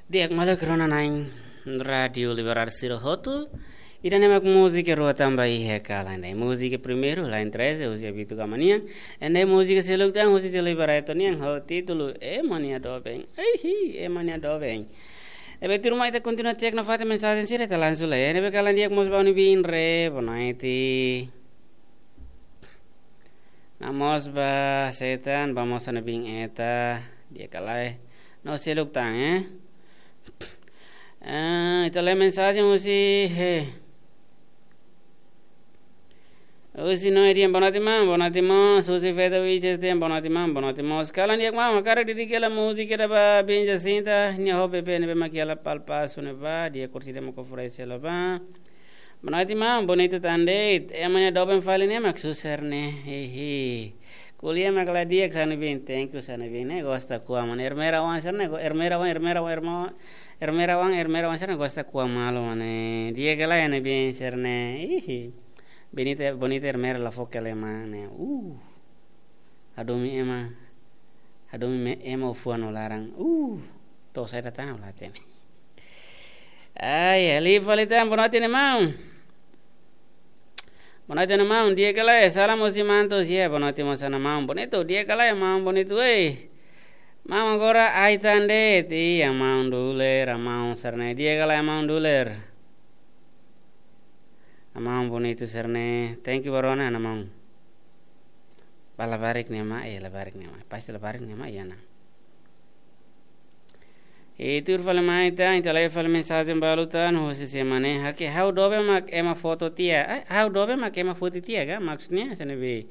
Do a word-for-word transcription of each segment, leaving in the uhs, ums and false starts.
Di'ak, maluk rona-na'in Rádiu Liberal sira hotu. Ida-ne'e mak múzika rua tanba iha kalan ne'e. Múzika primeiru, Lain Treze, husi Abitu Kamania. Ende múzika seluk tan husi Silvio Barreto nian ho títulu Ema nia Doben. Eihi, Ema nia Doben. Ne'ebé tuirmai ita kontinua cek nafatin mensajen sira, ita lansu lai. Ne'ebé kalan di'ak mós ba Unibin re, boa noite. Namoos ba Setan, ba mós Unibin eta, di'ak ka lae. No seluk tan, eh. Eh, ita lee mensajen husi, he. Husi Noé Dian, boa noite, maun, boa noite, maun. Husi Feto Vices Dian, boa noite, maun, boa noite, maun. Kalan di'ak, maun, hakarak dedika hela múzika ida ba Bin Jacinta, nia ho bebé ne'ebé mak iha La Palpa, sune ba, di'ak, orsida mak oferese hela ba. Boa noite, maun, bonitu tan de'it. Ema nia doben fali ne'e mak susar ne'e. Hehe. Ko'alia mak la di'ak, Sanibin. Thank you, Sanibin. Ne'e gosta ko'a, maun. Ermera wan sira ne'e, go-, ermera wan, ermera wan, ermo-, ermera wan, ermera wan sira ne'e gosta ko'a malu, maun. Di'ak ka lae, Sanibin, sira ne'e. Ihi. Bonita, bonita ermera la fó kele, maun. Uh. Hadomi ema, hadomi me-, ema ho fuan no laran. Uh, to'o saida tan la hatene. Ai, liu fali tan, boa noite, maun. Boa noite, maun. Di'ak ka lae, salam husi Mantos, ya, boa noite, maun, sira-ne'e maun. Bonitu, di'ak ka lae, maun, bonitu, ei. Maun, agora ai tan de'it, iha maun Duler, maun sira-ne'e. Di'ak ka lae, maun Duler. Maun bonitu sira-ne'e. Thank you, barona, maun. Ba labarik ne'e mak, eh, labarik ne'e mak. Pasti labarik ne'e mak, ya, na. I tuir fali mai tan, ita lee fali mensajen balu tan, husi semana ne'e. Ha'u doben mak ema foto tiha. Eh, ha'u doben mak ema foto tiha, ka? Maksudnya, sene bi.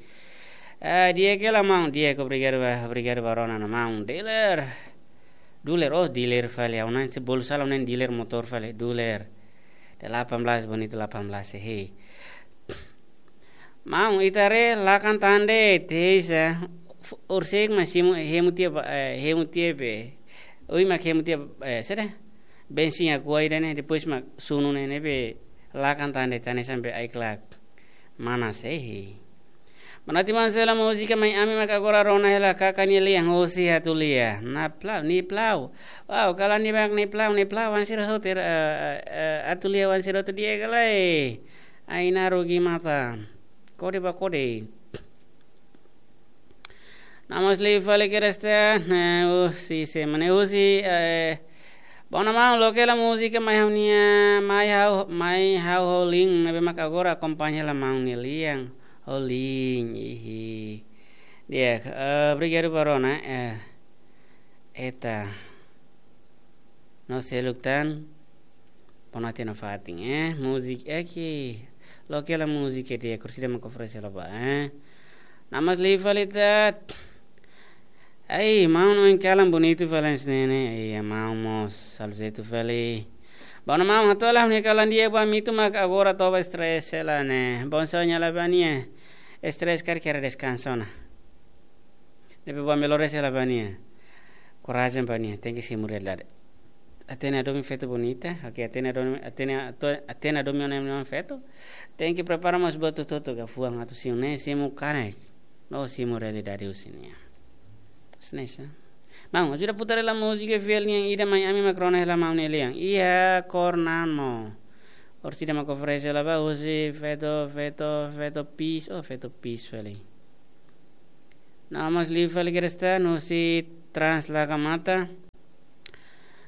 Eh, di'ak ka lae, maun, di'ak, obrigadu ba, obrigadu barona, maun. Dealer. Duler, oh, dealer fali, ha'u-nia se bolu sala, ha'u-nia dealer motór fali, Duler. Delapan belas, bonitu delapan belas, hehe. Maun, ita haree lakan tan de'it, heisa. F-, orsida mak simu, hemu tiha ba, eh, hemu tiha be. Oi, mak hemu tiha, eh, saida? Bensin agora ida-ne'e, depois mak sunu ne'e, ne'ebé lakan tan de'it, tan ne'e sampai ai-klak. Mana sei? Boa noite, maun, sela múzika mai ami mak agora rona hela Kaka nia lian, husi Atulia. Naplau, Niplau. Wow, kalan di'ak, Niplau, Niplau, wan sira hotu, eh, eh, eh, Atulia wan sira hotu, di'ak ka lae. Ai, na rugi mata. Kode ba kode. Namoos liu fali kedas tan, eh, husi semana ne'e husi, eh, bom, maun, loke hela múzika mai ha'u-nia, mai ha'u, mai ha'u ho lian, ne'ebé mak agora akompaña hela maun nia lian, ho lian, ihi. Di'ak, eh, obrigadu barona, eh, eta. No seluk tan, boa noite nafatin, eh, múzika, eh, ke, loke hela múzika di'ak, orsida mak oferese hela ba, eh. Namoos liu fali tan. Ai, maun, ohin kalan bonitu fali hanesan ne'e. Ai, maun mós, salu zaitu fali. Bom, maun, hato'o hela ha'u-nia kalan di'ak ba Mitu mak agora toba stress hela ne'e. Bom, sonho hela ba nia. Stress karik kera deskansa ona. Ne'ebé bom, melhores hela ba nia. Korajen ba nia, tenke simu realidade. Hatene hadomi feto bonita, oke, hatene hadomi, hatene, ato-, hatene hadomi ona ema feto. Tenke prepara mós buat hotu-hotu, ka fuan atu simu ne'e, simu kanek. No simu realidade husi nia. Hanesan ne'e. Maun, ajuda putar hela múzika fiel nian ida mai ami mak rona hela maun nia lian. Iha Kornamo. Orsida mak oferese hela ba husi feto, feto, feto Pis, oh, feto Pis fali. Namoos liu fali kedas tan, husi Trans Laga Mata.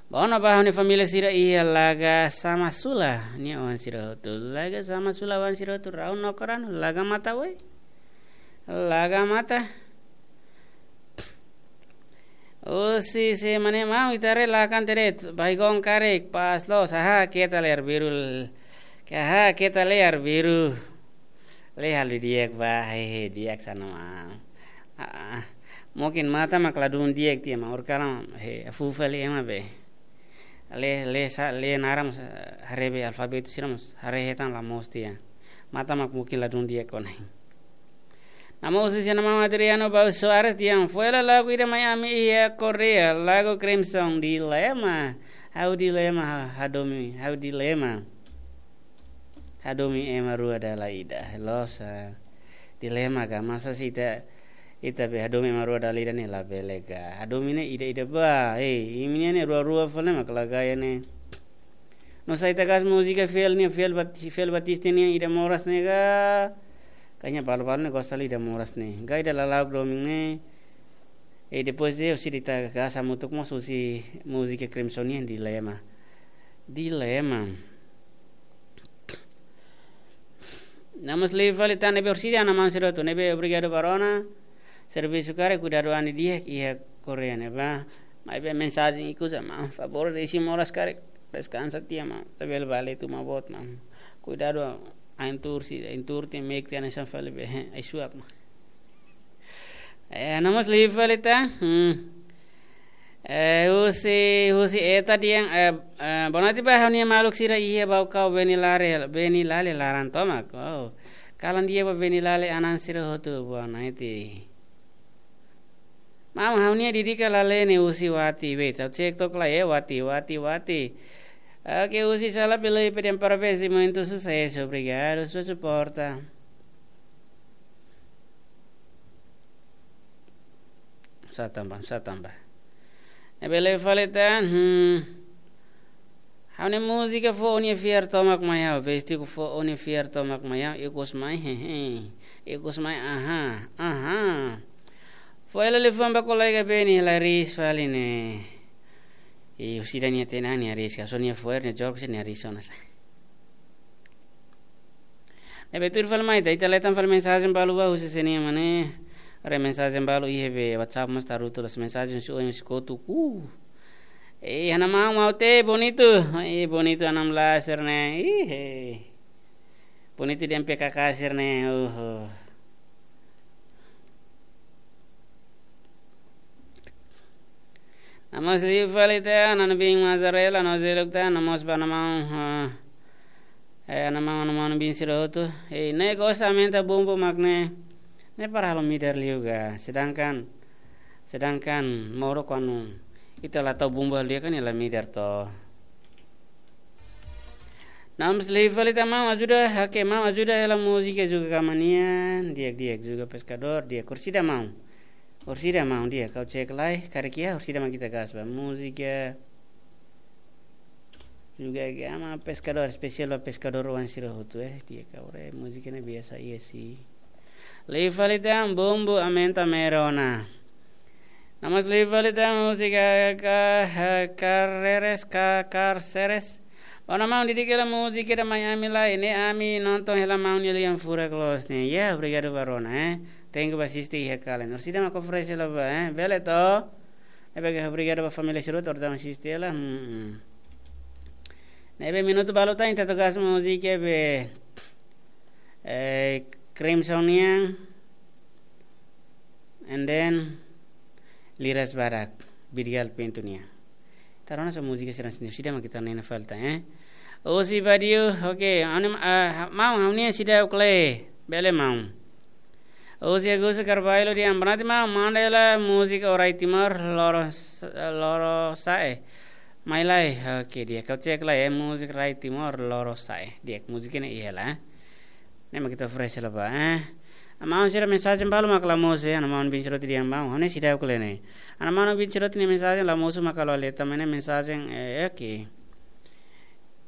Bom, ba ha'u-nia família sira iha Laga Samasula, nia oan sira hotu. Laga Samasula oan sira hotu, rau no koran, Laga Mata, woi. Laga Mata. Husi semana ne'e maun, ita haree lakan tan de'it, baigon karik, pas loos, haha, keta lee arbiru, haha, keta lee arbiru. Lee halo di'ak ba, hehe, di'ak sana, maun. Ah, mungkin mata mak ladún di'ak tiha, maun, orsida kalan, he, afu fali ema be. Lee, lee sa, lee naran mós, haree be alfabetu sira mós, haree hetan la moos tiha. Mata mak mungkin ladún di'ak ona. Namoos husi sira-ne'e maun, Adriano Bau Soares dehan fó hela lagu ida mai ami iha Korea, lagu Crimson, Dilema. Ha'u dilema, ha-, hadomi, ha'u dilema. Hadomi ema rua dala ida. Loos, ah, dilema ka, masa se ita Ita be hadomi ema rua dala ida ne'e labele ka. Hadomi ne'e ida-ida ba. Ei, imi-nian ne'e rua-rua fali mak la gaya ne'e. No sai ita gas múzika fiel nian, fiel Bati-, fiel Batista nian ida moras ne'e ka. Kayaknya balu-balu ne'e gosta liu ida moras ne'e. Ka ida lala'ok domin ne'e. E depois de husi ita gas hamutuk mós husi múzika Crimson nian Dilema. Dilema. Namus liu fali tan ne'ebé orsida ana maun sira hotu ne'ebé obrigadu ba rona. Servisu karik kuidadu an didi'ak iha Korea ne'ebá. Maibé mensajen ikus maun, favór desi moras karik. Deskansa tiha maun. Tabel bale tu ma bot maun. Kuidadu ain tuur si, ain tuur te mek te ana san fali be. Ai suak maun. Eh, namus liu fali tan. Hmm. Eh, husi, husi eta dehan, eh, eh, bonaiti ba ha'u-nia maluk sira iha Baucau Benilare, Benilale laran tomak. Oh. Kalan di'ak ba Benilale anan sira hotu bonaiti. Maun, ha'u-nia dedika Lale ne'e husi Wati, wait, ha'u cek tok lai, eh, Wati, Wati, Wati. Oke, husi sala pelo pedem parabéns e muito sucesso, obrigadu sua suporta. Sa tamba, sa tamba. Ne'ebé liu fali tan, hmm. Ha'u-nia múzika foun nia fiar tomak mai ha'u, bestiku foun nia fiar tomak mai ha'u, ikus mai, hehe. Ikus mai, aha, aha. Fo'er liafuan ba kolega Beni, la ris fali ne'e. I orsida nia tenan nia ris, ka so nia fo'er nia jorok se nia ris ona sa. Ne'ebé tuir fali mai, ita, ita leten fali mensajen balu ba husi sini mane. Haree mensajen balu iha be WhatsApp mós tarutu las mensajen si oin si kotu ku. Eh, ana maun Maute, bonitu. Eh, bonitu ana maun Laser ne'e. Ih, eh. Bonitu dehan P K K sira ne'e. Oho. Namus liu fali tan, ana biin Mazarela, no zeluk tan, namus ba ana maun, eh, eh, ana maun, ana maun biin sira hotu. Eh, ne'e gosta aumenta bumbu mak ne'e. Ne'e para halo midar liu ga. Sedangkan, sedangkan moro kuandu ita la tau bumbu halo di'ak kan nia la midar to. Namus liu fali tan maun ajuda, oke, maun ajuda hela múzika juga kama nian, di'ak, di'ak juga peskadór, di'ak orsida maun. Orsida maun di'ak, ha'u cek lai, karik iha orsida mak ita gas ba múzika. Juga kama peskadór, espesiál ba peskadór oan sira hotu, eh, di'ak ha'u haree múzika ne'e biasa iha si. Liu fali tan bumbu aumenta mero ona. Namus liu fali tan múzika ka, ka, kareres, ka, karseres. Ona maun dedika hela múzika ida mai ami lai, ne'e ami nonton hela maun nia lian furak loos ne'e. Ya, obrigadu ba rona, eh. Thank you ba asiste iha kalan. Orsida mak oferese hela ba, eh. Bele to. Ne'ebé obrigadu ba família sira hotu atu asiste hela. Hmm, hmm. Ne'ebé minutu balu tan ita atu gas múzika be, eh, Crimson nian. And then Liras Badak, Bidigal Pintu nian. Ita rona só múzika sira sini, orsida mak ita nena falta, eh. Husi Badiu, oke, anim, ah, maun, ha'u-nia seidauk lee, bele maun. Husi Augusto Carvalho dehan, bonaiti maun, manda hela múzika Rai Timor, Loro, Loro Sae. Mai lai, oke, di'ak ha'u cek lai, eh, múzika Rai Timor, Loro Sae. Di'ak múzika ne'e iha lai, eh. Ne'e mak ita oferese hela ba, eh. Ana maun sira mensajen balu mak la mosu, eh, ana maun biin sira hotu dehan maun, ha'u-nia seidauk lee ne'e. Ana maun biin sira hotu nia mensajen la mosu mak la lee, tanba ne'e mensajen, eh, oke.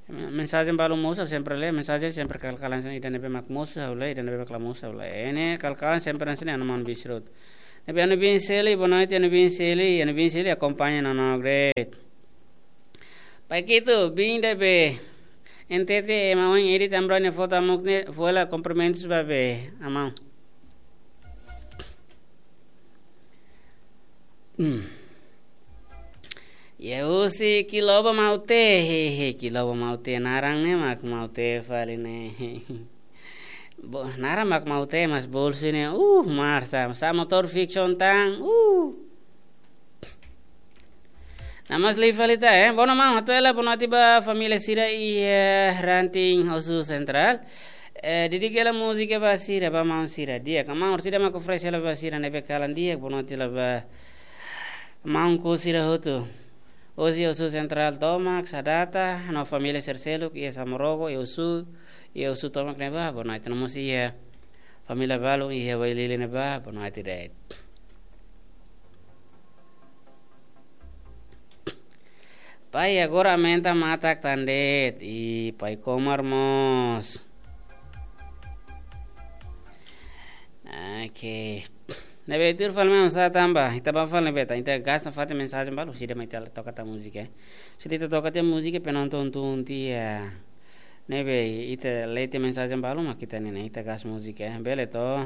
Mensajen balu mosu, sempre lee, mensajen sempre kal-kalan hanesan ida ne'ebé mak mosu, ha'u lee, ida ne'ebé mak la mosu, ha'u lee. Ne'e kal-kalan sempre hanesan ne'e ana maun biin sira hotu. Ne'ebé ana biin Seli, bonaiti ana biin Seli, ana biin Seli akompaña no, no, great. Pai kitu, biin ida be. N T T, ema oin edit amra nia foto amuk ne'e, fó hela kumprimentus ba be, ana maun. Hmm. Ya husi Kiloba Maute, he, he, Kiloba Maute, naran ne'e mak Maute fali ne'e. Bo, naran mak Maute, mas bolsu ne'e, uh, mar sa, sa motór fiction tan, uh. Namus liu fali tan, eh. Bonaiti maun, hato'o hela bonaiti ba família sira iha, eh, Ranting Osu Sentrál. Eh, dedika hela múzika ba sira, ba maun sira. Di'ak, maun sira mak oferese hela ba sira ne'ebé kalan di'ak, bonaiti hela ba maun ku sira hotu. Osi Osu Sentrál tomak, Sadata, no família sira seluk, iha Samorogo, iha Osu, iha Osu tomak ne'ebá, bonaiti namus iha Família balu iha Wailili ne'ebá, boa noite de'it. Pai, agora aumenta matak tan de'it, i Pai Komar mós. Oke. Ne'ebé tuir fali memang sá tanba, ita bá fali ne'ebé, ita, ita gas nafatin mensajen balu, sira mai ita toka tan múzika, eh. Sira ita toka tan múzika, penonton tun tiha. Ne'ebé, ita lee tan mensajen balu, mak ita ne'e, ita gas múzika, eh. Bele to.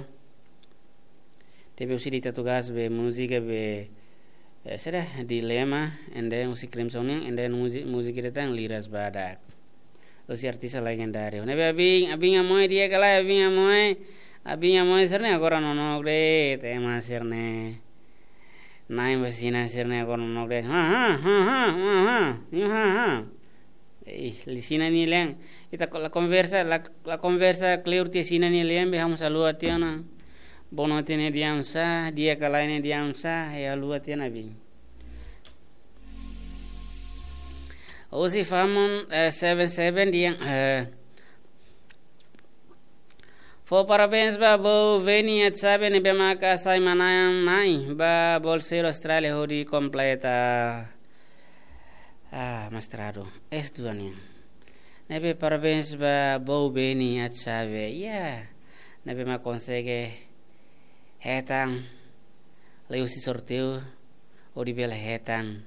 Tapi husi ita atu gas be múzika be, eh, sira dilema, ende husi Crimson nian, ende múzi-, múzika ida tan liras badak. Husi artista legendáriu. Ne'ebé Abin, Abin Amoy di'ak ka lae, Abin Amoy. Abin Amoy sira-ne'e agora nonook de'it, ema sira-ne'e. Nain ba Xina sira-ne'e agora nonook de'it. Ha, ha, ha, ha, ha, ha. Ih, li Xina nia lian. Ita ko-, la konversa, la, la konversa kleur tiha Xina nia lian, be ha'u mós haluha tiha ona. Boa noite ne'e di'ak sá, di'ak ka lae ne'e di'ak sá, ha'u haluha tiha ona, Abin. Husi Famon, eh, seven seven di'ak, eh, fó parabéns ba Bou Veni Atsabe ne'ebé maka sai manán-na'in ba bolseiru Austrália hodi kompleta, ah, mestradu S dua nian. Ne'ebé parabéns ba Bou Veni Atsabe. Ya. Ne'ebé mak konsege hetan liuhusi sorteiu hodi bele hetan,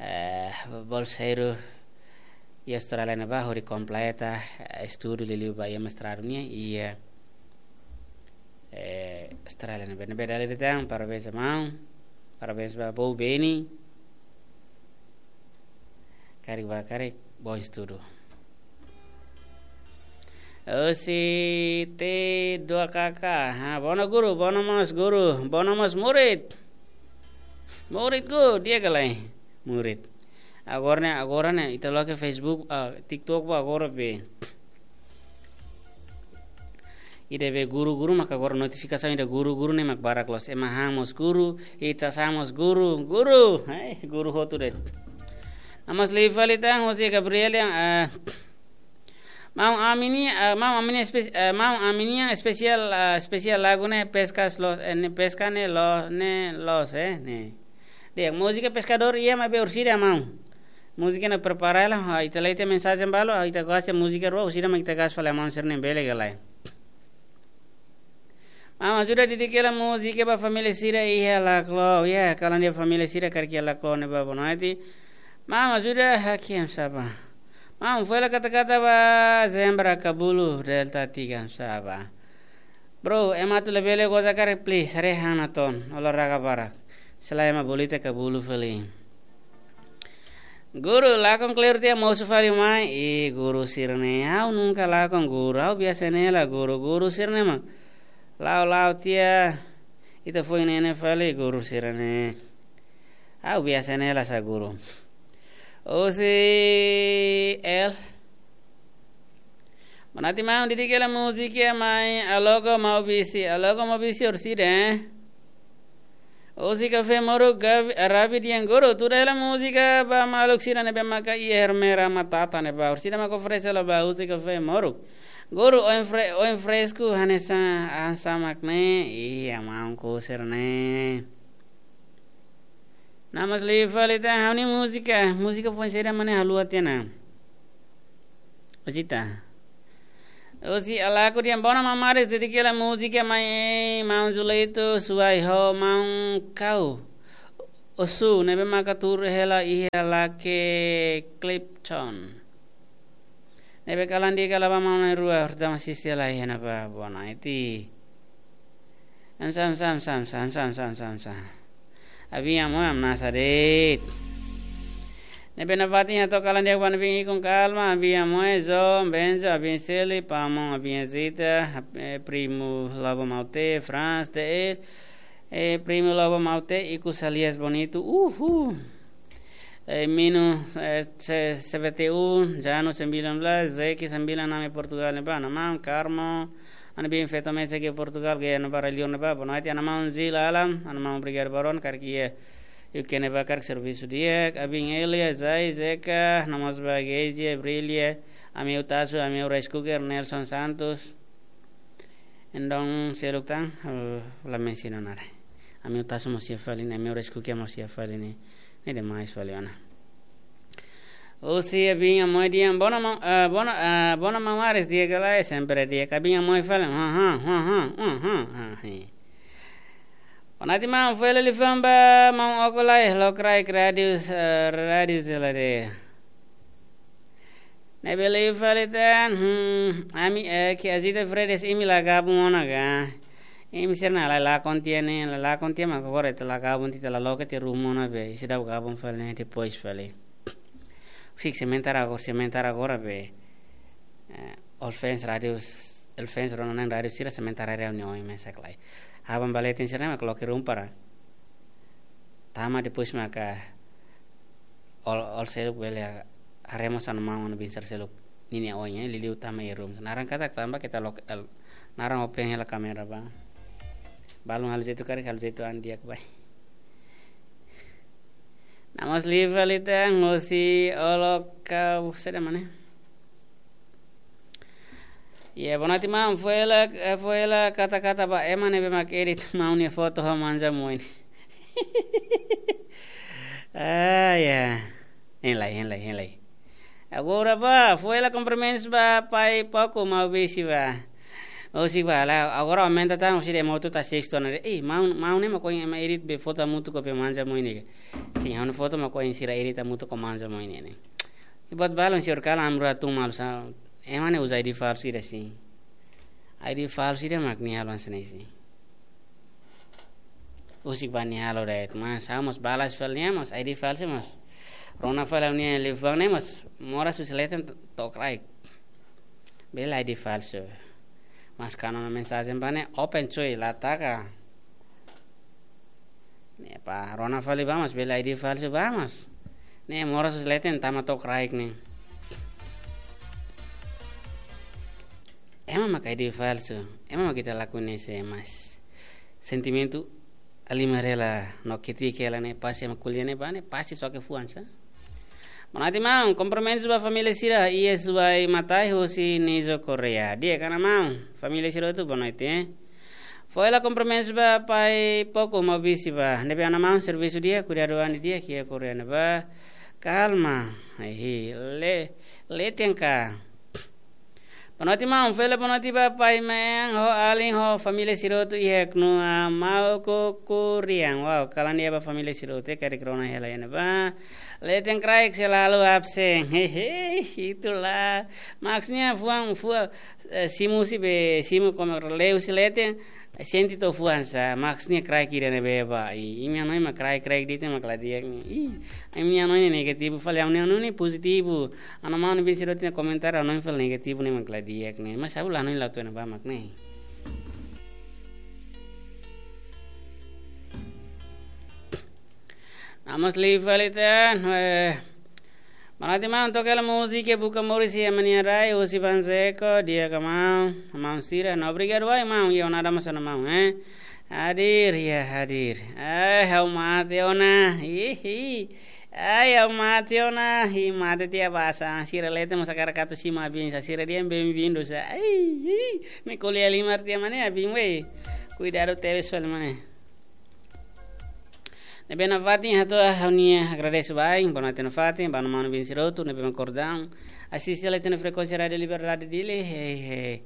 eh, bolseiru iha Austrália ne'ebá hodi kompleta, eh, estudu liuliu ba iha mestradu nian iha, eh, Austrália ne'ebá. Ne'ebé dala ida tan, parabéns ba maun, parabéns ba Bou Veni. Karik ba karik, bom estudu. Husi T dua K K. Ha, bono guru, bono mós guru, bono mós murid. Murid ku, di'ak ka lae? Murid. Agora ne'e, agora ne'e, ita loke Facebook, ah, TikTok ba agora be. Ida be guru-guru maka agora notifikasaun ida guru-guru ne'e mak barak loos. Ema han mós guru, ita sá mós guru, guru. Eh, guru hotu de'it. Namas liu fali tan, husi Gabriel nian, eh, maun ami-nia, eh, maun ami-nia espe-, eh, maun ami-nia espesiál, eh, espesiál lagu ne'e peskas loos, eh, ne'e peska ne'e loos, ne'e loos, eh, ne'e. Di'ak, múzika peskadór iha maibé orsida maun. Múzika ne'e prepara hela, ha, ita lee tan mensajen balu, ha, ita gosta múzika rua, orsida mak ita gas fali maun sira-ne'e bele ka lae. Maun ajuda dedika hela múzika ba família sira iha Laclau, ya, kalan dehan família sira karik iha Laclau ne'ebá boa noite. Maun ajuda hakiam saba. Maun fó hela kata-kata ba Zembra Kabulu Delta tiga saba. Bro, ema atu labele goza karik, please, haree han natoon, olahraga barak. Selae ema bolita kabulu fali. Guru, lakon kleur tiha mosu fali mai, i guru sira-ne'e, ha'u nunka lakon guru, ha'u biasa ne'e hela guru, guru sira-ne'e mak. La'o la'o tiha, ita foin ne'e ne'e fali guru sira-ne'e. Ha'u biasa ne'e hela sá guru. Husi El. Boa noite maun, dedika hela múzika mai Alogo Maubisi, Alogo Maubisi orsida, eh? Husi Kafé Moruk, Gavi, Arabi di'ak guru, tuda hela múzika ba maluk sira ne'ebé maka iha Ermera Matata ne'ebá, orsida mak oferese hela ba husi Kafé Moruk. Guru, oin fre-, oin fresku hanesan an samak ne'e, iya maun kusir ne'e. Namas liu fali tan ha'u-nia múzika, múzika foin saida mak ne'e haluha tiha ona. Ojita. Husi Alaku di'ak, bono mamaris, dedika hela múzika mai, eh, maun Zuleito, suai ho maun Kau. Osu, ne'ebé maka tuur hela iha Lake Clifton. Ne'ebé kalan di'ak kala ba maun na'in-rua, horta masih sela iha ne'ebá, boa noite. Am sam, sam, sam, sam. Abin Amoy, am nasa de'it. Ne'ebé nafatin hato'o kalan di'ak ba abin ikun Kalma, abin Amoy, Zo, Benzo, abin Seli, Pamo, abin Zita, eh, primu Lobo Maute, Franz, T L, eh, primu Lobo Maute, ikus alias Bonito, uhu. Eh, Mino, eh, C-, C V T U, Jano sembilan belas, Zeki sembilan enam Portugal ne'ebá, ana maun Carmo, ana biin Feto Mesa ke Portugal, gaya ne'ebá, Rai Liur ne'ebá, boa noite, ana maun Zil Alam, ana maun Brigada Baron, karik iha U K ne'ebá, karik servisu di'ak, abin Elia, Zai, Zeka, namas ba Geizia, Brilia, ami Utasu, ami Rice Cooker, Nelson Santos. Entaun, seluk tan, eh, la mensiona nada. Ami Utasu mós iha fali ne'e, ami Oreskukia mós iha fali ne'e, ne'e demais fali ona. Husi Abinha Moi Dian, bona maun, eh, bona, eh, bona maun Ares, di'ak ka lae, sempre di'ak, Abinha Moi fali, ha, ha, ha, ha, ha, ha, ha, hi. Bonoite maun, foin hela liafuan ba maun Oko Lae, lokraik rádiu, eh, rádiu Zeladeira. Ne'ebé liu fali tan, hmm, ami, eh, ke Azita Fredes imi la gabung ona ka. Imi sira ne'e la, la kontia ne'e, la, la kontia mak agora ita la gabung, ita la loke ita ruma ona be, seidauk gabung fali ne'e depois fali. Husik sementara agora, sementara agora be, eh, All Fans Rádiu, All Fans rona na'in rádiu sira sementara reuniaun mesak lai. Aban ba leten sira ne'e mak loke ruma para tama, depois maka Ol, Ol seluk bele haree mós Ana Maun, Ana Biin sira seluk ninia oin, eh, liuliu tama iha ruma. Naran katak tanba keta lok, el, naran open hela kámera ba. Balun halo jeitu karik, halo jeitu an di'ak bai. Na'a mós liu fali tan, husi Olo Kau, saida mana? Iha, bonoite maun, foin hela, eh, foin hela kata-kata ba ema ne'ebé mak edit maun nia foto ho Manja Moi ne'e. Ah, ya. Hein lai, hein lai, hein lai. Agora ba, foin hela kumprimentus ba pai Poko Maubisi ba. Husi ba la, agora aumenta tan, husi de moto ta sexto na. Eh, maun, maun ne'e mak ohin ema edit be foto hamutuk ho be Manja Moi ne'e. Sin, ha'u-nia foto mak ohin sira edit hamutuk ho Manja Moi ne'e. I buat balun, señór kalan ami rua tun malu sa. Ema ne'e uza I D falsu ida sin. I D falsu ida mak nia halo hanesan ne'e sin. Husik ba nia halo de'it, mas ha'u mós balas fali nia mós, I D falsu mós. Rona fali nia liafuan ne'e mós, moras husi leten to'o kraik. Bele I D falsu. Mas kanu mensajen ba ne'e open cuy, la taka. Ne'e ba rona fali ba mós, bele I D falsu ba mós. Ne'e moras husi leten tama to'o kraik ne'e. Ema mak I D falsu, ema mak ita la koñese, mas sentimentu halimar hela no ketik hela ne'e, pasti ema ko'alia ne'ebá ne'e, pasti soke fuan sa. Bonoite maun, kumprimentus ba família sira, iha Suai Matai husi Nizo Correia. Di'ak ka Ana Maun, família sira hotu bonoite, eh. Foin hela kumprimentus ba pai Poko Maubisi ba. Ne'ebé Ana Maun, servisu di'ak, kuidadu an di'ak iha Correia ne'ebá. Kalma. Ai, hi, le, leten ka. Bonoite maun, foin hela bonoite ba pai Mean ho alin ho família sira hotu iha Knoa, Mauku, Kurian. Wow, kalan di'ak ba família sira hotu, eh, karik rona hela iha ne'ebá. Leten kraik selalu absen. Hehe, itulah. Maksudnya fuan, fuan, eh, simu husi be, simu kome leu husi leten, sente to'o fuan sa, maksudnya kraik ida ne'ebé ba. I, imi hanoin mak kraik, kraik de'it mak la di'ak ne'e. I, imi hanoin ne'e negativu fali, ha'u-nia hanoin ne'e pozitivu. Ana Maun, Ana Biin sira hotu nia komentáriu hanoin fali negativu ne'e mak la di'ak ne'e. Mas ha'u la hanoin la tuan ba mak ne'e. Na'a mós liu fali tan, eh, bonoite maun, toka hela múzika Buka Moris iha ema nia rai, husi Banzeko, di'ak ka maun, maun sira, no obrigadu wa'in maun, iha ona dama sana maun, eh. Hadir, ya hadir. Eh, ha'u mate ona, hihi. Ai, ha'u mate ona, hi mate tiha ba sá, sira leten mós hakarak atu simu Abin sá, sira dehan bem-vindo sá. Ai, hi, ne'e ko'alia halimar tiha mak ne'e Abin wei. Kuidadu tebes fali mak ne'e. Ne'ebé nafatin hato'o ha'u-nia agradese ba, bonoite nafatin, ba Ana Maun, Ana Biin sira hotu, ne'ebé mak kordang asiste hela ita-nia frekuénsia Rádiu Liberdade Dili, he, he.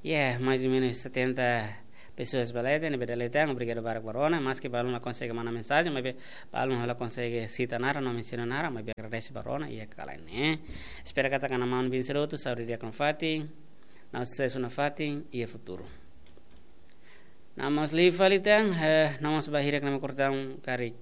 Ya, mais ou menos setenta pessoas ba leten, ne'ebé dala ida tan, obrigadu barak ba rona, maski balun la konsege manda mensajen, maibé balun la konsege sita naran, no mensiona naran, maibé agradese ba rona, iha kalan ne'e. Espera katak Ana Maun, Ana Biin sira hotu, saúde di'ak nafatin, no susesu nafatin, iha futuru. Na'a mós liu fali tan, eh, na'a mós ba hirak ne'ebé mak kordang karik.